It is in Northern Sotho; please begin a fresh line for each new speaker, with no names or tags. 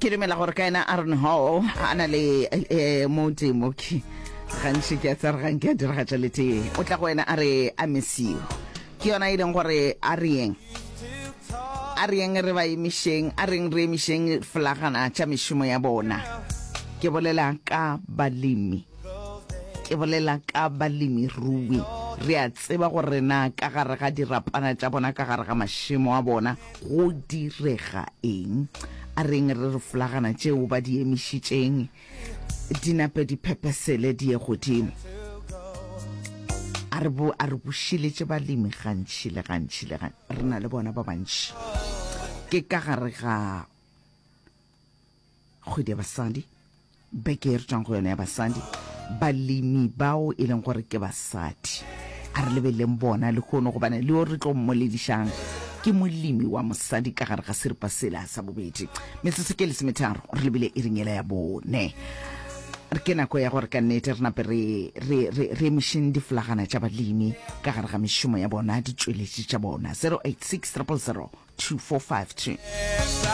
Ke dumela gore ka yena Aaron Hall a na le eh, modimo ke gantši ke a tsare gang ke a diragatša le tee o tla go wena a re I miss you ke yona e leng gore a re yeng a re yeng re ba emišeng a reng re emišeng flagana tša mešomo ya bona ke bolela ka balemi Ke bolela ka balemirui. Re a tseba gore na ka gare ga dirapana tša bona, ka gare ga mašemo a bona, go direga eng. A reng re re flagana tšeo ba di emišitšeng di nape di phepesele di ye godimo. A re, bo, a re bušeletše balemi gantši le gantši le gantši. Re na le bona ba bantši. Ke ka gare ga Kgwedi ya Basadi, beke ye re tšwang go yona ya basadi, balemi bao e leng gore ke basadi. A re lebeleleng bona lehono gobane le yo re tlo mmoledišang ke molemi wa mosadi ka gare ga seripa sela sa bobedi. Metsotso ke lesometharo re lebile iring yela ya bone. Ke nako ya gore ka nnete re nape re, re, re, re emišeng diflagana tša balemi ka gare ga mešomo ya bona, ditšweletši tša bona. 086 000 2452.